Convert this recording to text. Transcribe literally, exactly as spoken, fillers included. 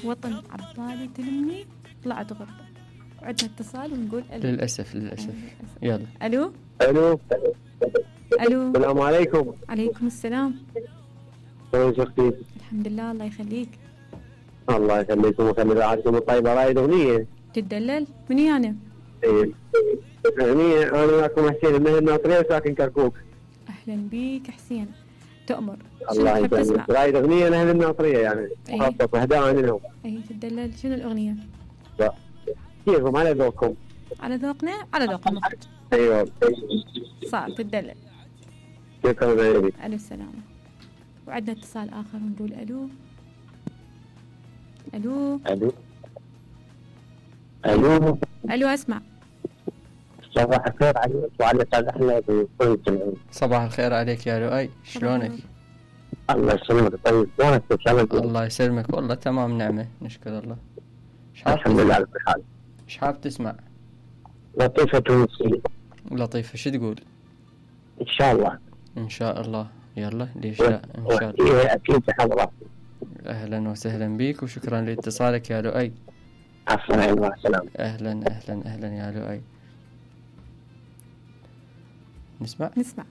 وطن عبالي تلمني طلعت غربة. وعندنا اتصال ونقول ألو. للأسف للأسف. يلا. ألو. ألو. ألو. السلام عليكم. عليكم السلام. كيف شفتي؟ الحمد لله الله يخليك. الله يخليكم ويخلي راحتكم الطيبة. رايد أغنية تتدلل؟ مني أنا؟ إيه أغنية. أنا وياكم حسين المهر الناطرية ساكن كركوك. أهلا بيك حسين. تؤمر. الله يسلمك. رايد أغنية لأهل الناطرية يعني مخصص وهدايا لهم. أي تتدلل. شنو الأغنية؟ كيفكم على ذوقكم؟ على ذوقنا على ذوقنا. أيوة صار تتدلل. شكرا لك. ألو السلامة. وعندنا اتصال آخر ونقول ألو. ألو. ألو. ألو. ألو أسمع. صباح الخير عليك وعلى أستاذ أحمد وكل الجميع. صباح الخير عليك يا لؤي. شلونك؟ الله يسلمك. طيب شلونك؟ الله يسلمك والله تمام نعمة نشكر الله. الحمد لله على كل حال. ايش حاب تسمع؟ لطيفة تونسية. لطيفة شو تقول؟ إن شاء الله. إن شاء الله. يلا ليش لا إن شاء الله. إيه أكيد حاضرة. أهلا وسهلا بيك وشكرا لاتصالك يا لؤي. عفوا مع السلامة. أهلا أهلا أهلا يا لؤي. نسمع نسمع